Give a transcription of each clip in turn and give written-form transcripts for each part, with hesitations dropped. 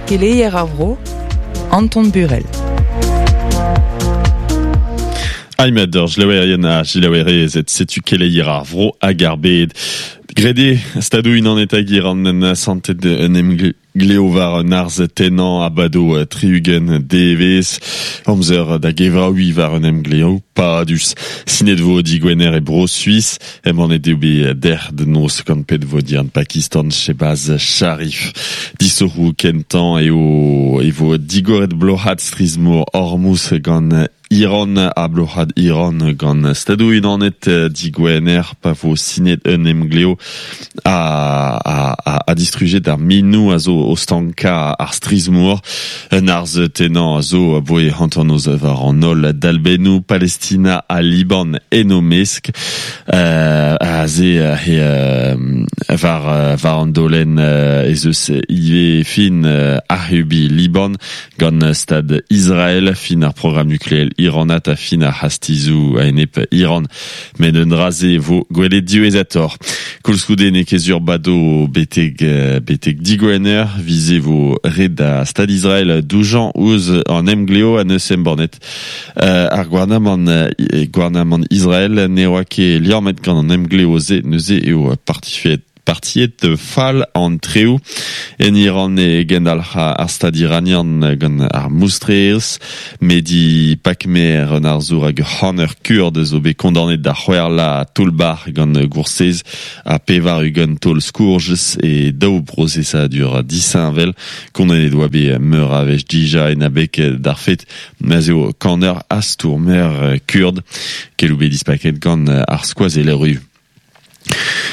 Keleier ar vro, Anton Burel. Aimed ur jlewerien ha jilaouerezed, setu keleier ar vro hag ar bed. Graet eo Stadoù Unanet hag Iran en asantet un emglev war un arz tennañ a bado 60 devezh. Amzer da gevraouiñ war un emglev padus. Sinet vo digwener e Bro-Suis. Embannet eo bet dec'h da noz gant pennvodiern Pakistan Shehbaz Sharif. Disoc'hoù kentañ eo e vo digoret bloc'had strizh-mor Hormuz gant Iran ha bloc'had Iran gant Stadoù-Unanet digwener pa vo sinet un emglev a, a, a, a distrujet ar minoù a zo o stankañ ar strizh-mor. Un arz tennañ a zo aboe hanternoz war an holl dalbennoù Palestina ha Liban en o mesk. Aze he war, war an daolenn ez eus ivez fin ac'hubiñ Liban Gant Stad Israel, fin ar programm nukleel iranat ha fin ar c'hastizoù a-enep Iran. Met un dra-se vo gwelet diwezhatoc'h. Koulskoude n'eo ket sur bado betek, betek digwener, vize vo ret da Stad Israel doujañ ouzh an emglev a neus embannet ar gouarnamant, gouarnamant Israel ne oa ket liammet gant an emglev-se neuze eo partifet Partiet fall an treoù en Iran e gendalc'h ar stad iranian gant ar moustrerezh. Mehdi Pakmer, un arzour hag ur c'haner kurd, zo bet kondaonet da c'hwec'h toull-bac'h gant goursez ha 80 taol skourjez e daou brosesadur disheñvel. Kondaonet oa bet meur a wech dija en abeg d'ar fed ma'z eo kaner ha stourmer kurd. Keloù bet dispaket gant ar skoazeller-ru.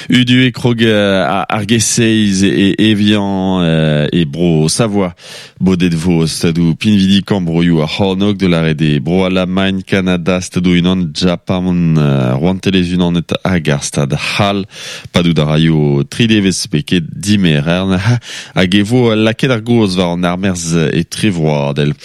Udu e krog ar G6 e Evian e bro Savoie. Bodet vo stadoù pinvidikañ broioù ar c'hornôg da lâret eo Bro-Alamagn, Kanada, Stadoù-Unan, Japan, Rouantelezh-Unanet hag ar Stad c'hall. Padout a raio tri devezh beket dimerc'her hag e vo lakaet ar gaoz war an armerzh etrevroadel.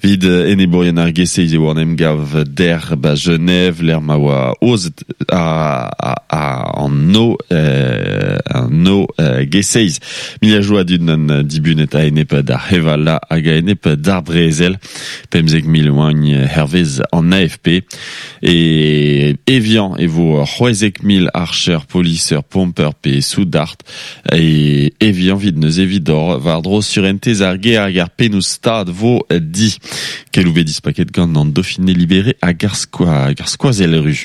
Evit enebourien ar G6 eo an emgav dec'h ba Genève lec'h ma oa aozet an no an no G6 miliajoù a dud n'an dibunet a-enep d'ar c'hevala hag a-enep d'ar brezel 15 000 oagn hervez an AFP e Evian e vo 16 000 archer poliser pomper pe soudard e Evian 'vit neuze evit war-dro surentez ar gêr hag ar pennoù-stad vo di. Keloù bet dispaket gant an Dauphiné Libéré hag ar skoazell-ru.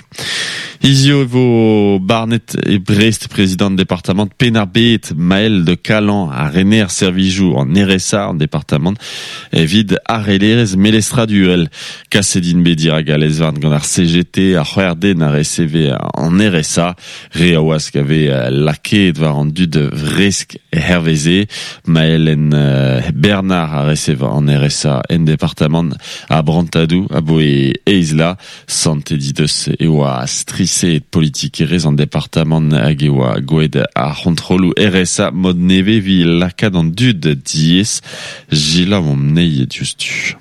Hiziv e vo barnet e Brest prezidant departamant Penn-ar-Bed, Maël de Calan, ha rener servijoù an RSA an departamant evit arellerezh melestradurel. Kaset int bet dirak al lez-varn gant ar CGT, ar c'hwec'h den a reseve an RSA. Re a wask a vez lakaet war an dud vresk herveze. Maëlen Bernard a resev an RSA en departamant a Brantadoù aboe eizh la. Santet he deus e oa striset politikerezh an departamant hag e oa gwelet ar c'hontrolloù RSA mod nevez evit lakaat an dud diaes. Selaouomp anezhi diouzhtu.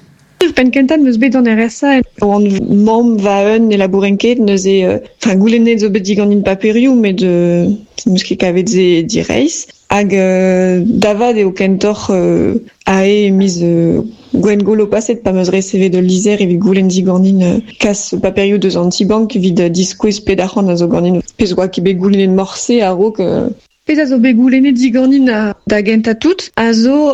Penn kentañ 'm eus bet an RSA oan mamm va-un ne labouren ket neuze enfin goulennet zo bet diganin paperioù met 'm eus ket kavet se direizh hag da vat eo kentoc'h ae miz Gwengolo paset pa 'm eus resevet ul lizher evit goulenn diganin kas paperioù deus an ti-bank evit diskouez pet arc'hant a zo ganin pezh 'oa ket bet goulennet morse a-raok. Pezh a zo bet goulennet diganin da gentañ tout a zo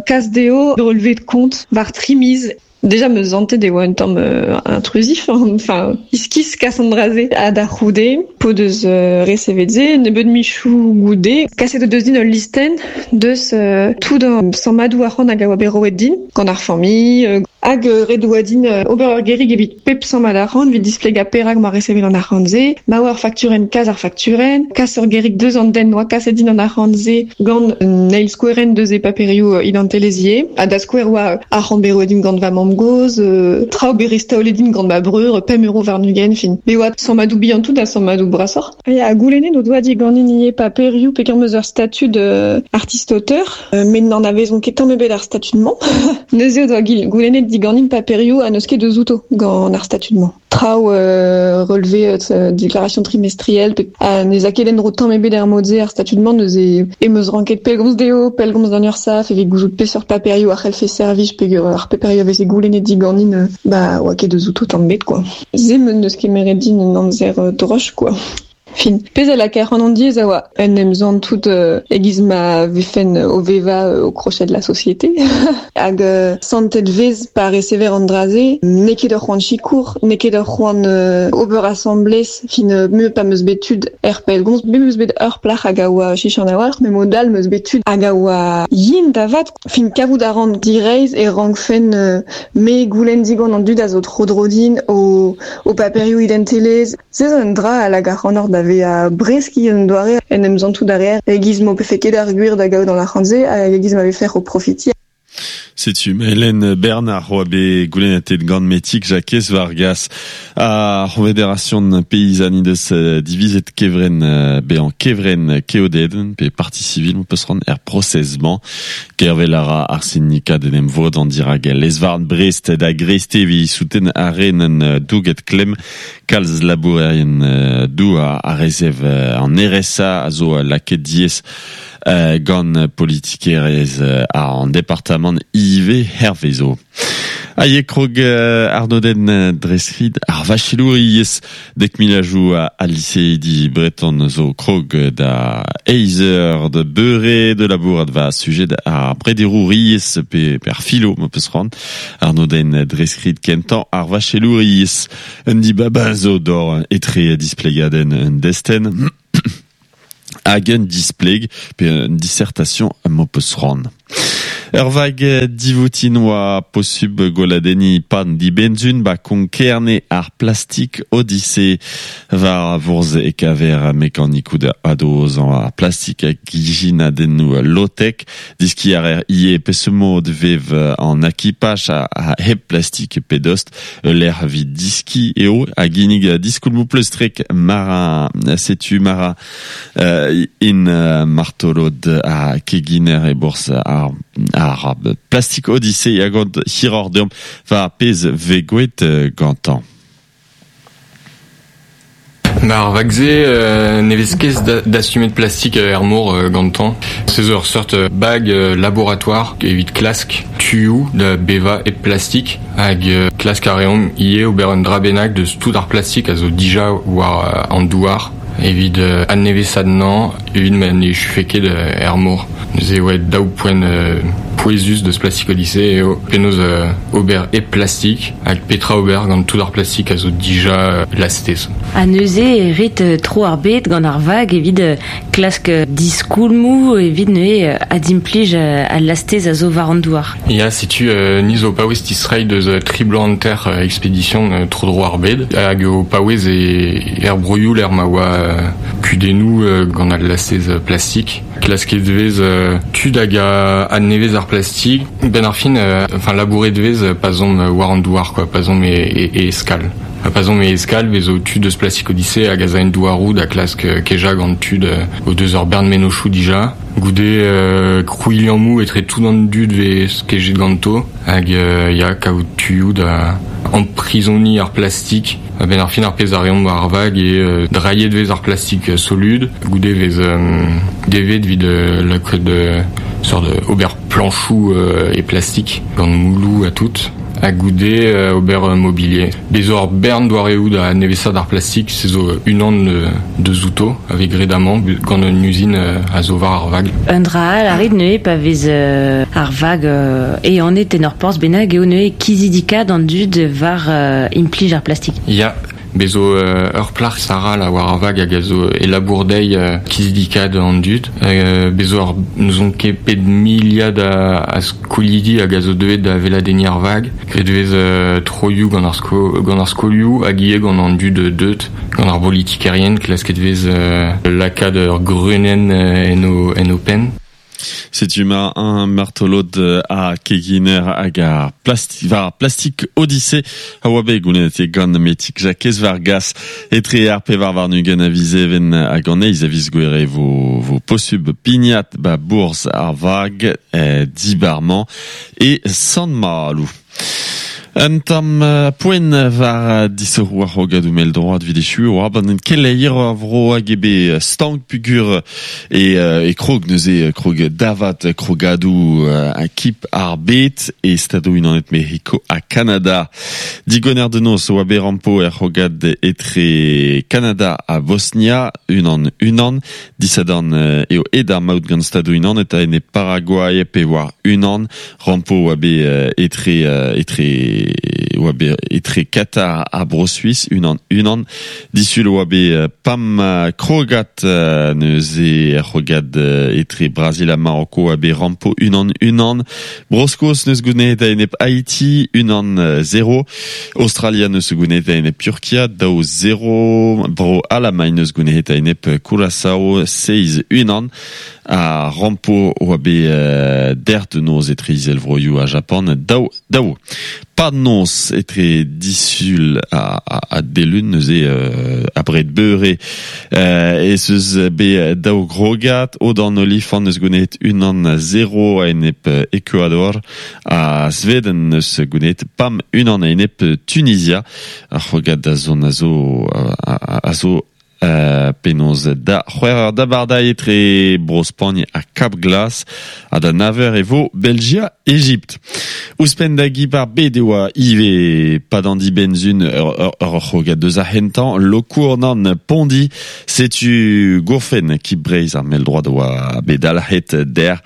kas dezho relevé de compte war tri miz. Déjà 'm eus santet e oa un tamm intrusif, enfin iskis kas an dra-se. Ha da c'houde, p'o deus resevet se, nebeut michoù goude, kaset o deus din ul listenn deus tout an sammadoù arc'hant hag a oa bet roet din gant ar familh. Hag ret oa din ober ur gerig evit pep sammad arc'hant evit displegañ perak 'moa resevet an arc'hant-se, ma oa ur fakturenn kas ar fakturenn, kas ur gerig deus an den 'noa kaset din an arc'hant-se gant un eil skouerenn deus e paperioù identelezh ivez. Ha da skouer oa arc'hant bet roet din gant va mamm. mamm-gozh, traoù bet restaolet din gant ma breur, 5 euro warn-ugent, fin. Bet oa sammadoù bihan tout ha sammadoù brasoc'h. Ya, goulennet o doa diganin ivez paperioù peogwir 'm eus ur statud artiste-auteur, met n'anavezont ket tamm ebet ar statud-mañ. Neuze o doa goulennet diganin paperioù ha n'eus ket eus outo gant ar statud-mañ. Traoù relevé déclaration trimestrielle pe ha ne 'z a ket en-dro tamm ebet er mod-se ar statud-mañ neuze em eus ranket pellgomz dezho, pellgomz d'an URSSAF evit gouzout peseurt paperioù a c'hellfe servij peogwir ar paperioù a veze goulennet diganin ba oa ket eus outo tamm ebet quoi. Se 'm eus kemeret din un amzer droch quoi. Fin. Pezh a lakae ac'hanon diaes a oa en em santout e-giz ma vefen o vevañ au crochet de la société. Hag santet 'vez pa resever an dra-se, n'eo ket ur c'hoant sikour, n'eo ket ur c'hoant ober asambles, fin me pa 'm eus bet tud er pellgomz, me 'm eus bet ur plac'h hag a oa chichant a-walc'h, met mod all 'm eus bet tud hag a oa yen da vat. Fin kavout a ran direizh e rankfen me goulenn digant an dud a zo tro-dro din o o paperioù identelezh. Se zo un dra a lak ac'hanoc'h da vezañ bresk un doare en em santout a reer e-giz m'ho pefe ket ar gwir da gaout an arc'hant-se hag e-giz ma vefec'h o profitiñ. Setu Hélène Bernard oa bet goulennetet gant Metig Jakez Vargas ar C'honfederasion Peyzan he deus divizet kevrenn bezañ kevrenn keodedenn pe parti civil m'ho peus c'hoant er prosez-mañ. Gervel a ra ar sindikad en em vodañ dirak lez-varn Brest da Greiztevi souten ar re n'en douget klemm kalz labourerien douar a resev an RSA a zo lakaet diaes gant politikerezh an departamant ivez hervezo. Ha eo krog arnodenn dre skrid ar vachelouriezh dek milajoù al liseidi breton zo krog da eizh eur da beure da labourat war sujed ar brederouriezh pe ar filo ma peus c'hoant. Arnodenn dre skrid kentañ ar vachelouriezh. Un dibab zo d'or etre displegadenn un destenn hag un displeg pe un dissertation m'ho peus c'hoant. Ur vag divoutin oa posubl gweladenniñ pan dibenzun ba Konk-Kerne ar plastik Odyssée. War vourzh e kaver mekanikoù da adozañ ar plastik hag ijinadennoù low-tech. Deskiñ a reer ivez peseurt mod vev an akipaj hep plastik pe dost. Ul lec'h evit diskiñ eo a ginnig diskoulmoù pleustrek Marin. Setu Marin in martolod ha keginer e-bourzh ar Plastic Odyssey a gont hiroc'h deomp war pezh 'vez gwelet gantañ. Ar vag-se ne vez ket dastumet plastik er mor gantañ. Se zo ur seurt bag laboratoire evit klask tuioù da bevañ hep plastik hag klask a reomp ivez ober un dra bennak deus tout ar plastik a zo dija war an douar evit adnevesaat anezhañ evit ma ne echufe ket er mor. Neuze e oa daou poent pouezus deus Plastic Odyssey eo penaos ober hep plastik hag petra ober gant tout ar plastik a zo dija lastez. Ha neuze e rit tro ar bed gant ar vag evit klask diskoulmoù evit neuze adimplij al lastez a zo war an douar. Ya, setu ni zo paouez distreiñ deus tri bloaz hanter expedition tro-dro ar bed hag o paouez er broioù lec'h ma oa kudennoù gant al lastez plastik. Klasket 'vez tud hag a adnevez ar plastik. Benn ar fin, enfin labouret 'vez pa 'z omp war an douar quoi, pa 'z omp e eskal. Pa 'z omp e eskal 'vez zo tud eus Plastic Odyssey hag a za en douaroù da klask kejañ gant tud o deus ur bern mennozhioù dija. Goude krouiñ liammoù etre tout an dud 'vez kejet ganto hag ya kaout tuioù da amprizoniñ ar plastik. A-benn ar fin ar pezh a reomp war ar vag eo drailhet 'vez ar plastik solud, goude 'vez devet evit lakaat sort ober plañchoù e plastik gant moulloù ha tout. Ha goude ober mobilier. Bez zo ur bern doareoù da nevesaat ar plastik, se zo unan deus outo a vez graet amañ gant un uzin a zo war ar vag. Un dra all a rit neuze pa vez ar vag ehanet en ur porzh bennak eo neuze kizidikaat an dud war implij ar plastik. Ya, bez zo ur plac'h Sarah là war ar vag hag a zo e labour dezhi kizidikaat an dud. Bez zo ur n'ouzon ket pet miliad a skolidi hag a zo deuet da weladenniñ ar vag. Graet e vez troioù gant ar sko gant ar skolioù hag ivez gant an dud deuet, gant ar bolitikerien. Klasket e vez lakaat ur greunenn en o en o penn. Setu ma un martolod a keginer hag ar plastik, var Plastic Odyssey a oa bet goulennet eo gant Metig Jakez Vargas etre ar pevar warn-ugent a viz Even hag an eizh a viz Gouere vo, vo posubl pignat ba bourzh ar vag dibar-mañ e Sant-Maloù. Un tamm poent war disoc'hoù ar c'hrogadoù mell-droad evit echuiñ oa gant keleier ar vro hag eo bet stank pugur e, e krog neuze krog davat krogadoù kip ar bed e Stadoù-Unanet Mec'hiko ha Kanada. Digwener de noz oa bet rampo er c'hrogad etre Kanada ha Bosnia unan unan. Disadorn eo aet ar maout gant Stadoù-Unanet a-enep Paraguay pe war unan. Rampo oa bet etre etre oa bet etre Qatar ha Bro-Suis unan unan. Disul oa bet pam krogad neuze er c'hrogad etre Brazil ha Maroko oa bet rampo unan unan. Bro-Skos neus gounezet a-enep Haiti unan zero. Australia neus gounezet a-enep Turkia daou zero. Bro-Alamagn neus gounezet a-enep Curaçao seizh unan. Ha rampo oa bet dec'h da noz etre Izelvroioù ha Japan daou daou. Pad noz etre disul ha delun neuze abred beure ez eus bet daou grogad. Odan Olifant eus gounezet unan zero a-enep Ecuador ha Sveden eus gounezet pam unan a-enep Tunizia. Ar c'hrogad da zont a zo a zo Penaos da c'hwec'h eur d'abardaez etre Bro-Spagn ha Kab Glas ha da nav eur e vo Belgia-Egipt. Ouzhpenn da gib ar bed e oa ivez pad an dibenn-sun ur c'hrogad deus ar c'hentañ Lokournan Pondi. Setu gourfenn kib Breizh ar mell-droad a oa bet dalc'het dec'h.